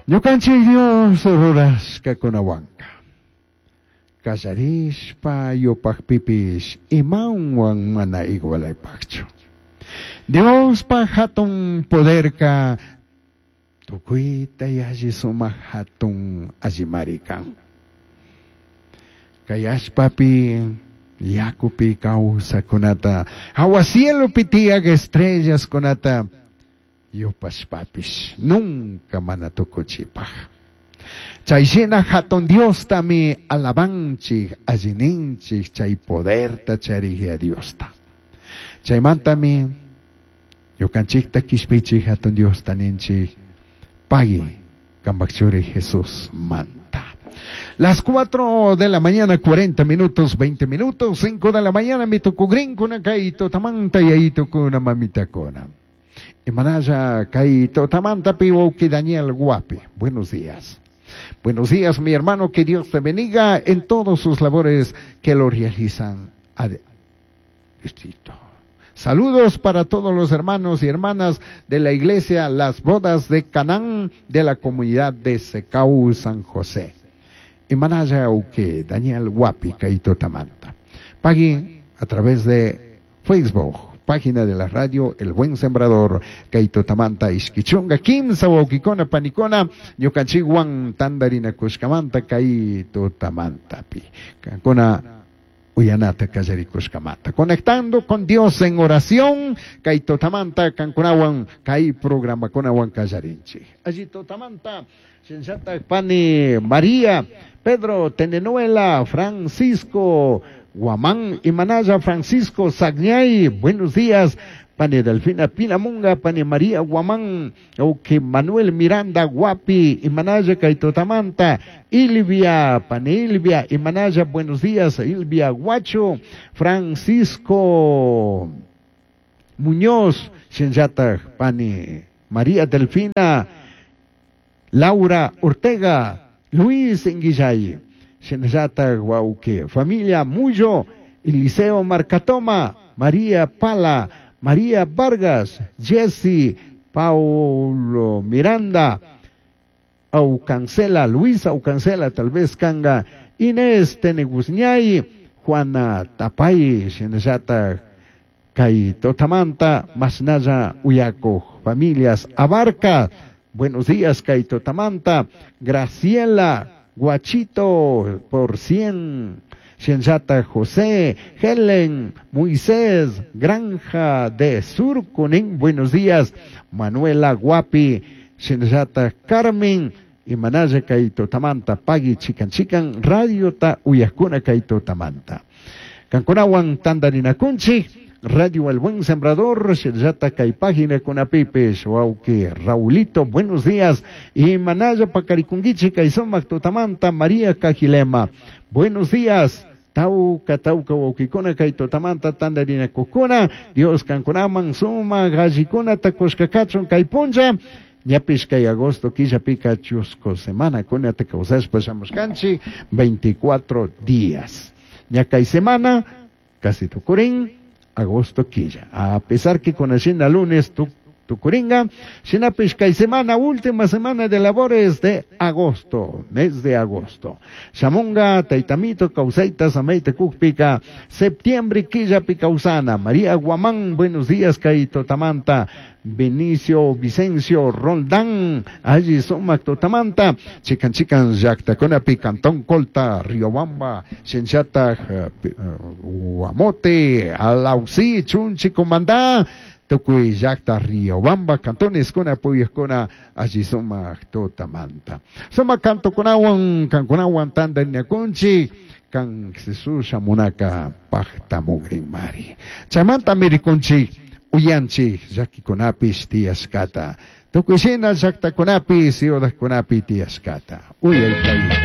Ñukanchik Dios rurashkakunawanka kallarishpa yupajpipish imawan mana igualaypajchu. Diospaj hatun poderka tukuyta yalli sumak hatun allimari kan. Kay allpapi yakupi kawsakunata hawa cielopi tiyaq estrellaskunata yupashpapish nunca mana tukuchipaj. Chayshina hatun Diostami alabanchik allininchik chay poderta charijya Diosta. Chaymantami ñukanchikta kishpichik hatun Diosta ninchik pagui kambaj churi Jesús manta. Las 4 de la mañana, 40 minutos, 20 minutos, 5 de la mañana, mi tukugrinkuna kay tutamanta yayitukuna mamitakuna. Imanalla kay tutamanta pi wawki Daniel Guapi. Buenos días. Buenos días, mi hermano, que Dios te bendiga en todos sus labores que lo realizan a distrito. Saludos para todos los hermanos y hermanas de la iglesia Las Bodas de Canaán de la comunidad de Secau San José. Imanalla uke Daniel Guapi kay tutamanta. Pagui a través de Facebook, página de la radio El Buen Sembrador, kay tutamanta ishkichunga kimsa wawkikuna panikuna ñukanchikwan tandarinakushkamanta kay tutamantapi. Kankuna uyanata kallarikushkamanta. Conectando con Dios en oración, kay tutamanta kankunawan kay programakunawan kallarinchik. Allí tutamanta, Shinshata Pani María, Pedro Tenenuela, Francisco Guamán y Manaya Francisco Sagñay, buenos días. Pani Delfina Pinamunga, Pani María Guamán, Oke Manuel Miranda Guapi, y Manaya kay tutamanta, Ilvia, Pani Ilvia, y Manaya, buenos días, Ilvia Guacho, Francisco Muñoz, Shinshata, Pani María Delfina, Laura Ortega, Luis Inguillay, Shinshata Guauque, familia Muyo, Eliseo Marcatoma, María Pala, María Vargas, Jesse, Paulo Miranda, Aucancela, Luis Aucancela, tal vez Kanga, Inés Teneguzñay, Juana Tapay, Shinshata kay tutamanta, Masnaya Uyaco, familias Abarca, buenos días kay tutamanta, Graciela Guachito por 100, Shinshata José, Helen, Moisés, Granja de Surcunín, buenos días, Manuela Guapi, Shinshata Carmen, y Manaya kay tutamanta, Pagui Chican Chican, Radio Ta Uyakuna kay tutamanta. Kankunawan tandarinakunchik, Radio El Buen Sembrador, Shinshata kay página kunapipish, wawki Raulito, buenos días, y Manaya Pacarikunguichi kay sumak tutamanta, María Cajilema, buenos días, Tauca, tauca, wawkikuna, kay tutamanta, tandarinakukuna, Dios kankunaman, suma, gallikuna, takushkakachun, kay punlla, ñapish kay agosto, killapika, chusco, semana, kuna, takausashpa, shamushkanchik, 24 días. Ña kay semana, casi tukurin, agosto quilla. A pesar que con Hacienda lunes tukuringa, shinapish kay semana, última semana de labores de agosto, mes de agosto. Shamunga, Taitamito, Causaita, Sameita, Kukpika, septiembre, quilla, Picausana, María Guamán, buenos días, kay tutamanta, Benicio, Vicencio, Roldán, allí sumak tutamanta, Chican Chican, Yactacunapi, Cantón Colta, Riobamba, Shinshata, Guamote, Alausí, Chunchi, Comandá, Tukuy llaqta Riobamba, cantones kuna puyajkuna allí sumak tutamanta. Sumak cantokunawan, kankunawan tandarinakunchik, kan Jesús shamunaka pajtamugrinmari. Chaymanta mirikunchik, uyanchik llakikunapish tiyashkata. Tukuy shina llaqtakunapi, ciudadkunapi tiyashkata. Uyay kayta.